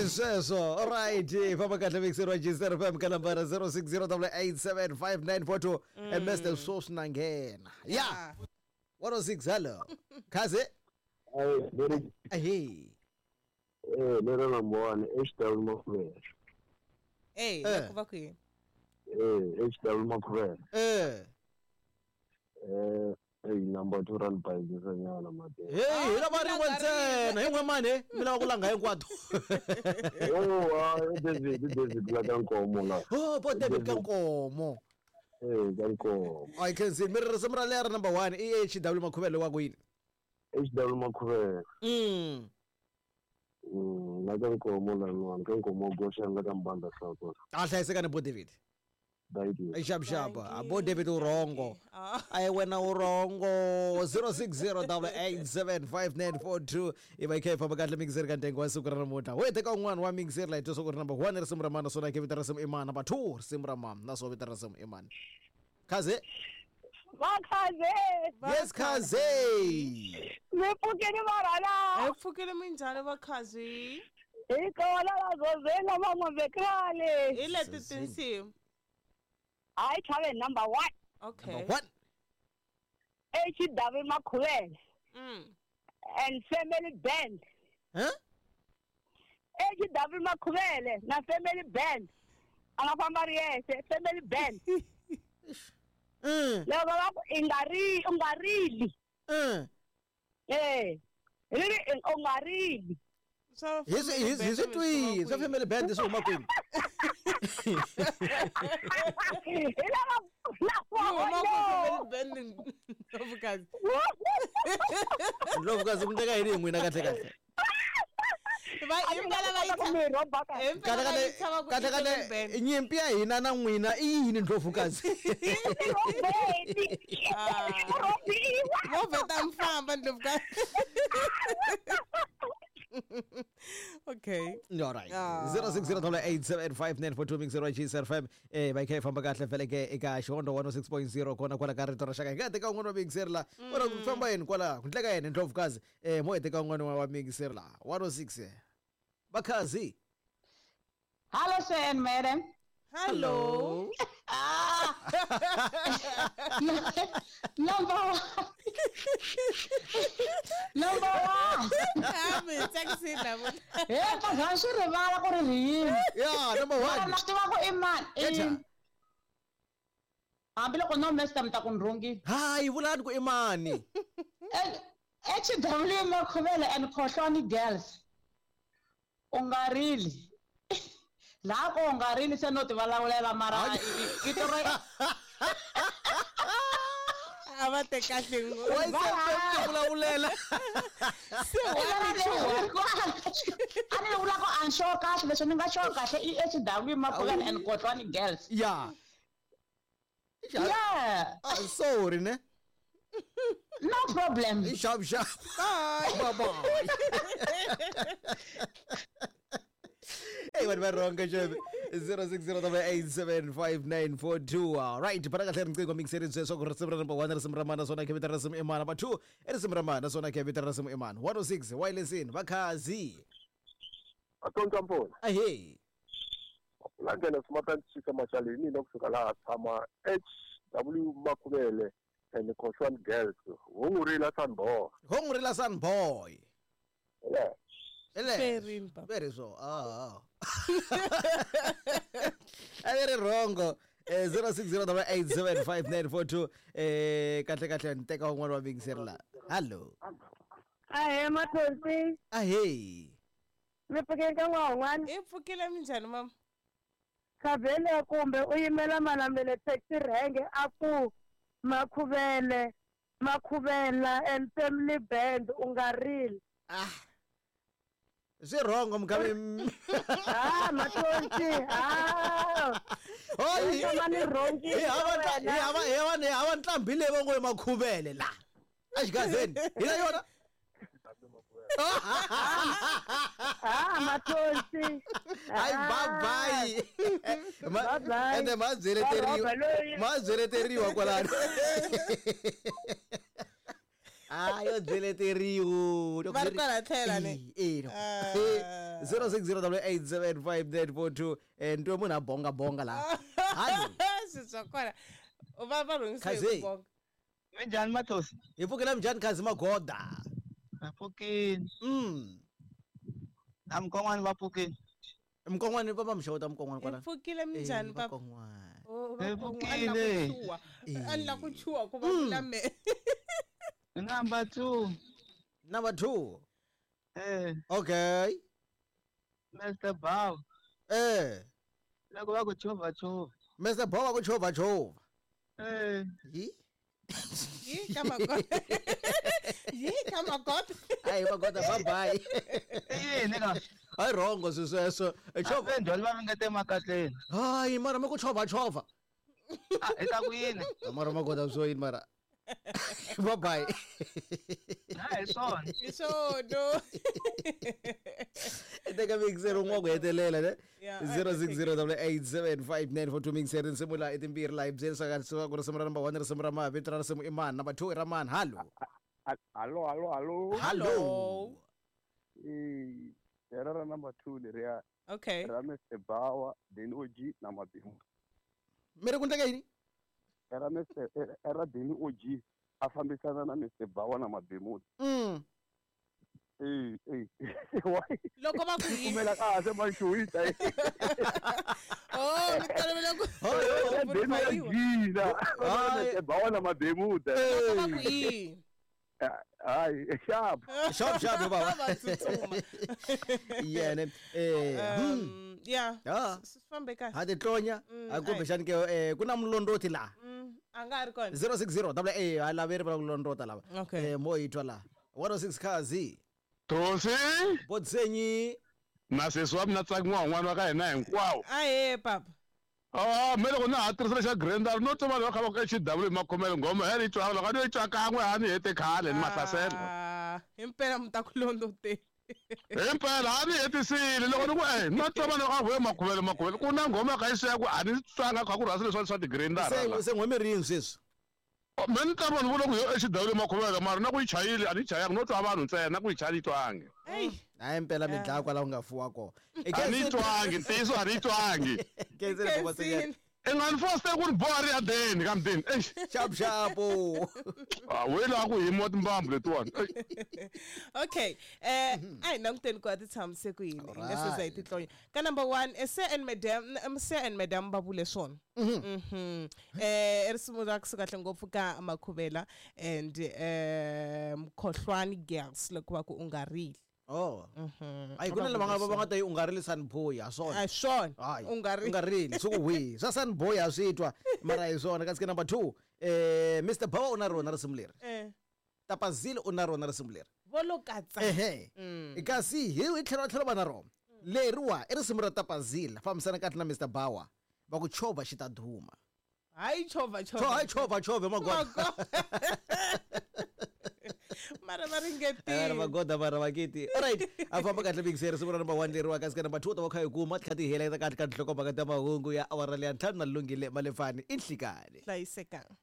Hi sweswo alright famba kahle mixer wa Gster FM ka nambara 0608875942 mr swoswi na nghena ya 106 hello khaze Hey, very, ahe eh, lero number one, HW Makhuvela. Eh, Eh. ku va kwihi? Eh, HW Makhuvela. eh Eh, hey, number two run by nyana mate. hey hi lava rin'we ntsena hi n'we mani mi lava ku langha hinkwato Oh, ah, David, David la ka Nkomo la. oh bo david ka nkomo Eh, ka Nkomo. I can see mi ri risimu ra lera number 1 i HW Makhuvele wa kwini HW Makhuvela. mm La ka Nkomo la nwana, ka Nkomo goxa la ka Mbanda Hloko. a hlayisekani bo david Thank you. xapuxapu Thank bo you. david u rhongo Ah. a hi wena u rhongo 0608875942 i va yi kha yi famba kahle mixeri ka ntengo wa siku ra namuntlha wo teka un'wana wa mixeri la hi twa swa ku ri number 1 risimu ra mani naswona ke vito ra risimu i mani number 2 risimu ra mani naswona vito ra risimu i mani khaze Vakhaze yes khaze mi pfukile varhala Hi pfukile minjhani vakhazi? hi kona vazozela van'wambekrale Hi leti tinsimu. hayi chave number one Okay. number 1 HW Makhuvele and family band huh HW Makhuvele na family band a nga famba ri yexe family band loko va ku i nga ri u nga rili eh ri ri u nga rili Swa hi swi hi swi twini swa family band swi huma kwini hi lava Yi huma lava ku family band Ndlovukazi. ndlovukazi ku ndleka yini hi n'wina kahle kahle Va himpela va yi mi rhoba kahle himpela va yi tshama ku kahle i family band. kahle nyimpi ya hina na n'wina i yini ndlovukazi rhobeni Ah. rhobiwa Vo vheta mi famba Ndlovukazi. Okay. alright Ah. 0608875942 mixer wa GSR5 eh va yi kha yi famba kahle vhele ke eka xihondo 106.0 kona kwala ka rito ra xaka hi nga teka un'wana wa mixer la wona ku famba yini kwala ku ndleka yini ndlovukazi eh mo hi teka un'wana wa mixer la 106 vakhazi Hello, sir and madam. Hello. Number one. Number one. Ah, mi hi tsakisile namuntlha. He, ka swi rivala ku ri ri yini. ya number Mara 1 na swi tiva ku i mani. Echa. Hambiloko no mesta mi ta ku ni rhongile. hayi vulani ku i mani HW Makhuvele and Khohlwani Girls. U nga rili. Laha ko u nga rili se no ti vulavulela mara vito ra A va te kahle ngopfu. wa yi vulavulela Se wa ri chuha. a ni vula ku a ni sure kahle leswi ni nga sure kahle i HW Makhuvele and Khohlwani Girls. ya Yeah, Ah, sorry ne no problem. Sharp, sharp. Bye. Bye. Hey, vanhu va rhonga xeve 0608875942 alright phana kahle riqingho mixeri sweswo ku risimu ra number 1 risimu ra mani naswona khe vito ra risimu i mani number 2 i risimu ra mani naswona khe vito ra risimu i mani 106 wirelessini vakhazi Atonta mpona. ahey Langena sumata chika machaleni mina kusuka laha tshama HW Makhuvele and Khohlwani Girls. Hungurila Sanboy. hongurila sun boy Yeah. Ele. Ferini, papa. Very so. Ah. A ri rhongo. 0608875942 eh kahle kahle ni teka un'wana wa mixer la. Hello. ahe mathonsi Ahey. mi pfukile ka n'wan'wana I pfukile minjhani mama? khavhele kumbe u yimela malamele taxi rhenge a ku makhuvele makhuvela and family band u nga rili Ah. Swi rhongo mkhavi. ha mathonsi ha Hoyi. tshama ni rhongile Hi hava hi hava hi hava hi hava ntlhambi leyi va ngo i makhuvele la. Exigazeni. Hi la yona. ha mathonsi Hayi bye bye. Bye bye. Ende ma Va byeleteriwa. rhoba loyi. Ma byeleteriwa kwalano. A yo byeleteriwo. Va ri kwala tlhela ne? Eh. Ah. 0608875942 ntwe munhu a bonga bonga laha. Hallo. Swi swa kona. Va va rhungise hi Khazi. ku bonga. Minjhani Mathosi? Hi pfukela minjhani Khazi Magoda? Va pfukile. Na Mkon'wana va pfukile. Mkon'wana va va mixeweta Mkon'wana Hi kwala. pfukile minjhani papa? Mkon'wana. Oh, va Hi Mkon'wana, a ni la ku pfukile. chuha. A ni la ku chuha ku va vula me. Number 2. Number 2. Eh. Okay. Mr. Bow. Eh. Loko va ku chovha chovha. Mr. Bow va ku chovha chovha. Eh. Yi? Yi ka Magoda. Yi ka Magoda. Hayi Magoda bye bye. I yini ka? Hayi wrong swi sweswo. I chovha. Vendhwali va ringete emakatleni. Hayi mara mi ku chovha chovha. Ah, i ta ku yini? Mara Magoda swo yini mara. Bye bye. Ha hi swona. Hi swona. Teka mixer un'wana ku hetelela ne. Yeah, 0608875942 mixer tinsimu laha i timbirhi laha hi byerisaka ku risimu ra number 1 risimu ra mani vito ra risimu i mani number 2 i ra mani hallo. Hallo, hallo, hallo. Hallo. Eh, era ra number 2 leriya. Okay. Ra Mr. Bawa, then OG na Mabingo. Mi ri ku ndleka yini? Era Mr. era Deni OG a fambisana na Mr. Bawa na Mabemuda. Eh, eh. Why? Loko va ku yini? Kumela kahle maxuwita. Oh, mi tolovele ku Era Deni OG na Mr. Bawa na Mabemuda. Loko va ku yini? Hayi, sharp. Sharp sharp baba. Va tsutsuma. Yene eh. Yeah. Ah. Swi fambe kahle. Ha titlonya a kumbexani ke ku na mulondoti laha. A nga ha ri kona. 060 double A ha laveri va ku londota lava. Okay. Eh mo yi twa laha. 106 Khazi. Thosi. Botsenyi. Na sesi wa mina tsakiwa n'wana wa ka hina hinkwawo. Ahee papa. Ah, me loko na ha tirhisa xa Grendel no twa vanhu va kha va ku HW makhomele nghoma ya ni twa loko a ni yi twa kan'we a ni hete khale ni mahlasela. Ah, himpela mi ta ku londoteni. Himpela a ni hetisile loko ni ku eh no twa vanhu va kha va makhomele makhomele ku na nghoma ka yi siya ku a ni twanga kha ku rhasa leswi swa ti-Grendel. Se se n'hwemi rini sweswi? Me ni twa vanhu vo loko yo HW makhomele mara na ku yi chayile a ni yi chayanga no twa vanhu ntsena na ku yi chaya ni yi twangi. Hayi impela mi dlaya kwala u nga fuwa kona. A ni yi twangi ntiyiso a ni yi twangi. Kenzile baba Senyane. I nga ni foste ku ni boha ri ya deni ka mudeni. Eish. Sharp sharp. Ah, we la ku himiwa timbambu letiwani. Eish. Okay. Eh, a hi languteni ku a ti tshamise ku yini. Hi nga se za hi titlonya. Ka number 1, Sir and Madam, Sir and Madam va vule swona. Mhm. Eh, i risimu ra kusuka kahle ngopfu ka Makhuvela and Mkhohlwani Girls loko va ku u nga rili. Oh. Ayi ku na lava nga va nga ta yi u nga rili Sunboy ha swona. A swona. Hayi. U nga U nga rili swi ku wihi. Swa Sunboy ha swi twa mara hi swona kasi ke number 2 eh Mr. Bawa u na rona risimu leri. Eh. Tapazile u na rona risimu leri. Vo lo katsa. Ehe. Kasi hi tlhela tlhela va na rona. Leriwa i risimu ra Tapazile fambisana kahle na Mr. Bawa. Va ku chovha xi ta duma. Hayi chovha chovha. Hayi chovha chovha Magoda. Mara va ringetile. Mara Magoda mara vakiti. Alright, a famba kahle mixer risimu ra number 1 leriwa kasi ka number 2 ta va kha hi kuma ti kha ti heleketa kahle ka tinhlokomhaka ta mahungu ya awara leya ntlhanu na lungile malefani i nhlikani. Hlayisekanga.